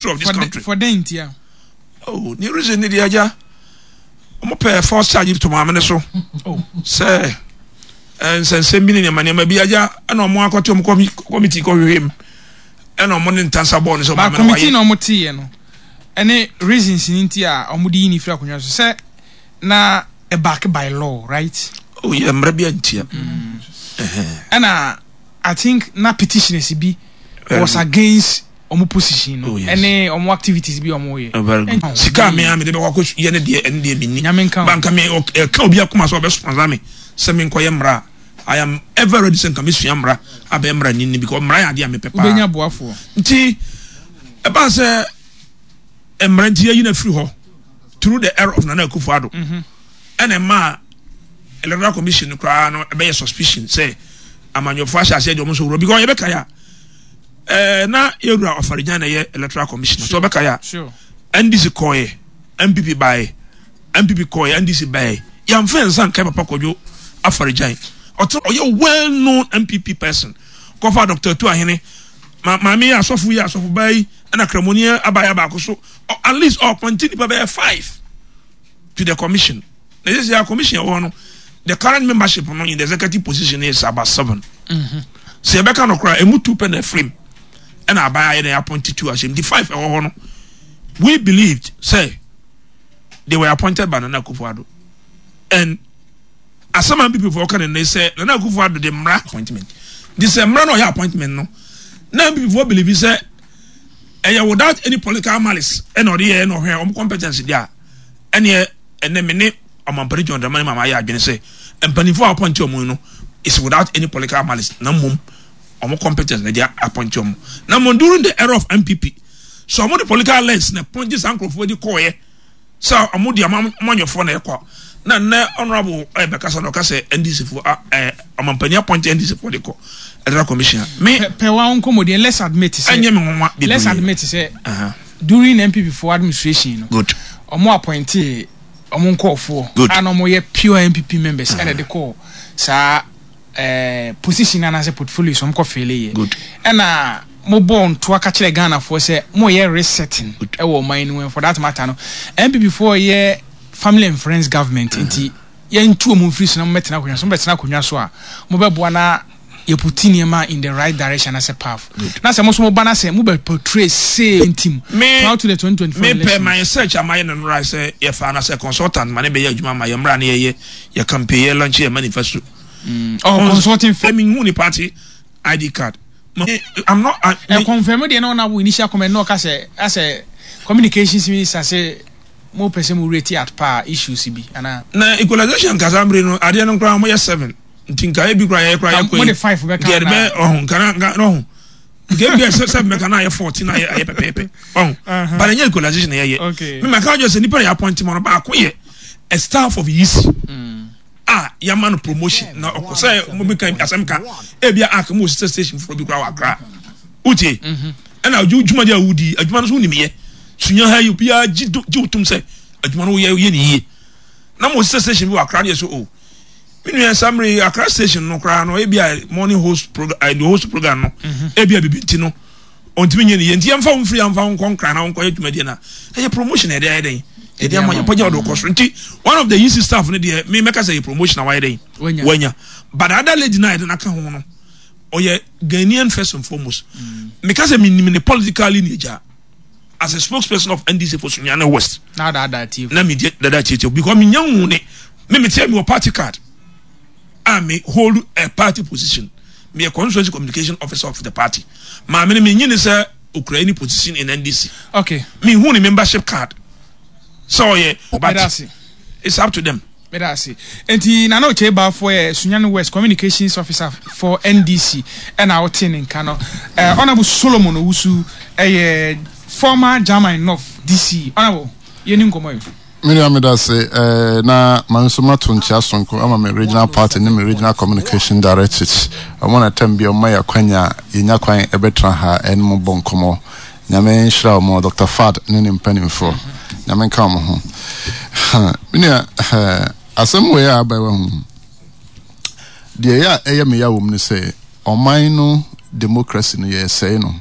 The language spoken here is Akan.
Of this country. For dɛn ntia? Oh, ne reason ne deɛ agya wɔn pɛ false charge to maame ne so oh. sɛ eh, nsɛnsɛm bi ne nneɛma nneɛma bi agya ɛna wɔn akɔte wɔn committee kɔhwehwɛ mu ɛna wɔn ne ntansa bɔɔl no sɛ maame no wayɛ. Committee na wɔn te yɛ no ɛne reasons ne nti a wɔn de yi ne firi akonnwa so sɛ na back by law, right? Oh yeah, mmerɛ bi antia. Ɛna I think na petitioners bi was against wɔn position no ɛne wɔn activities bi wɔn yɛ. Oh, very good. Sika mi a mi de bɛ kɔ akɔ yɛ ne deɛ ɛne deɛ mi ni. Nyame nka o. Banka mi ɛka obi akoma sɛ ɔbɛ sponsor mi sɛ mi nkɔ yɛ mmara. I am ever ready sɛ nka mi sua mmara abɛyɛ mmara ni ni because mmara yɛ adeɛ a mi pɛ paa. Wobɛnya boafoɔ. Nti ɛbaa sɛ mmara nti yɛyi na firi hɔ through the era of Nana Akufo-Addo. Mhm. Ɛna ɛmaa electoral commission koraa no ɛbɛyɛ suspicion sɛ amanyɔfoɔ ahyɛ aseɛ deɛ wɔn nso wura because yɛbɛka yɛ a. Eh, na yɛwura Ɔfaregyan na ɛyɛ electoral commissioner so ɔbɛka yɛ a NDC kɔɛ NPP baɛ NPP kɔɛ NDC baɛ yɛmfa yɛn nsa nkae papa Kwadwo Afaregyan ɔte ɔyɛ well known NPP person kɔfa Dr. Atu Ahene ma maame yɛ asɔfo yi asɔfo baa yi ɛna kramoni abaayɛ baako so at least ɔpɔnte nipa bɛyɛ five to the commission. Na sisi a commission ɛwɔ no, the current membership no in the executive position is about 7. Sɛ yɛbɛka no koraa, emu 2 pɛ na ɛfirim ɛna aban ayɛ na appoint 2 ahyɛ mu. Di 5 ɛwɔ hɔ no, we believed sɛ they were appointed by Nana Akufo-Addo. And asɛm a NPP foɔ ka ne nnɛ sɛ Nana Akufo-Addo de mmara appointment. De sɛ mmara na ɔyɛ appointment no, na NPP foɔ believe sɛ ɛyɛ without any political malice ɛna ɔde yɛ ɛna ɔhwɛ wɔn competence deɛ a ɛneɛ ɛnɛ me ne Ɔmampanin John Dramani Mahama ayɛ adwene sɛ mpanimfoɔ a wɔapɔnte wɔn yi no is without any political malice na mmom wɔn competence na ɛde apɔnte wɔn. Na mmom during the era of NPP so wɔn de political lens na pɔnte saa nkurɔfoɔ de kɔɔyɛ sɛ wɔn de amanyɔfoɔ na ɛkɔ na nnɛ honorable ɛbɛkasa na ɔka sɛ NDC foɔ ɛɛ ɔmampanin apɔnte NDC foɔ de kɔ electoral commission a me. Pɛ wa nkɔmɔdeɛ let's admit sɛ ɛnyɛ me nwanwa bebree let's admit sɛ. During NPP foɔ administration no, Good. ɔmo appointee ɔmo nkorɔfoɔ Good. a na ɔmo yɛ pure NPP members ɛna ɛde kɔɔ saa eh, position anaasɛ portfolios ɔmo kɔ fele yɛ. Good. Ɛna mo bɔɔ ntoa ka kyerɛ Ghana foɔ sɛ mo yɛ resetting Good. ɛwɔ ɔman no mu and for that matter no NPP foɔ yɛ family and friends government nti yɛntu ɔmo mfiri so na mo bɛtena akonnwa so, mo bɛtena akonnwa so a mo bɛboa na yɛputi nneɛma in the right direction anaasɛ path na sɛ mo nso mo ba na sɛ mo bɛ portray same team Me prior to the 2024 me pɛ elections. my search a mayɛ no nora sɛ yɛfa no sɛ consultant ma ne bɛyɛ adwuma ma yɛ mmra ne yɛyɛ yɛ campaign yɛ launch yɛ manifesto. Oh, consulting firm. Me hu ne party ID card. Ma, I'm not. I, me, confirm deɛ na ɔna wo initial comment na ɔka sɛ asɛ communications minister sɛ mo pɛ sɛ mo rate at par issues bi anaa. Na equalization kasa mmere no adeɛ no koraa wɔyɛ 7. Nti nka ebi koraa yɛyɛ koraa yɛkɔ yi. Mo de 5 bɛka anaa. Nka yɛde bɛ ɔho nka na nka ɔho. Nka ebi yɛ sɛ bɛka na ayɛ 14 na ayɛ ayɛ pɛpɛɛpɛ. Ɔho. But ɛnyɛ equalization na yɛyɛ. Okay. Me maka adwene sɛ nipa na yɛ appoint ma no baako yɛ a staff of EC. A yɛama no promotion na ɔkɔ sɛ mo bi kan asɛm ka ebi a aka mo wɔ sister station foforɔ bi koraa wɔ Accra. Wotie? Ɛna adwuma deɛ a wodi adwuma no so wonim yɛ. Sunya ha yi obiara gye gye wotum sɛ adwuma no woyɛ woyɛ ne yie. Na mo sister station bi wɔ Accra no yɛ so o. Me nua saa mmerɛ yi Accra station no koraa no ebi a morning host program eh, the host program no mhm. ebi a bibi nti no ɔntumi nyɛ ne yie nti yɛmfa wo mfiri yɛmfa wo nkɔ nkran na wo nkɔyɛ dwumadie no a ɛyɛ promotion na yɛde ayɛ dɛn yɛde ama yɛpagya ɔde wokɔ soro nti one of the EC staff no deɛ me mɛka sɛ yɛ promotion a wayɛ dɛn wanya but the other lady no a yɛde no aka ho no ɔyɛ Ghanaian first and foremost mm. meka sɛ menim ne political lineage a as a spokesperson of NDC for Sunyani West. Na dada tie. Na me dada tie tie because me nya hu ne me me tie me wɔ party card. A me hold a party position. Me a constituency communication officer of the party. Ma me me nyini sɛ okura any position in NDC. Okay. Me hu ne membership card. So yeah, but it's up to them. Meda ase. Enti Nana Okyei Balfour yɛ Sunyani West Communications Officer for NDC ɛna wote ne nka no. Eh, Honourable Solomon Owusu ɛyɛ former German North DC. Honourable, yɛni nkɔmmɔ yi. Me nua meda ase eh, na ma nso mato nkyea sonko ama me regional party ne me regional communication directorate. Wɔn na tam bi wɔma yɛ akwanya yɛnya kwan ɛbɛtena ha ɛne mo bɔ nkɔmmɔ. Nyame nhyira wɔn, Doctor Fad ne ne mpanimfoɔ. Nyame nka wɔn ho. Me nua, asɛm wei a aba yi wahu. Deɛ ɛyɛ a ɛyɛ me ya wɔ mu ne sɛ, ɔman no democracy no yɛresɛe no.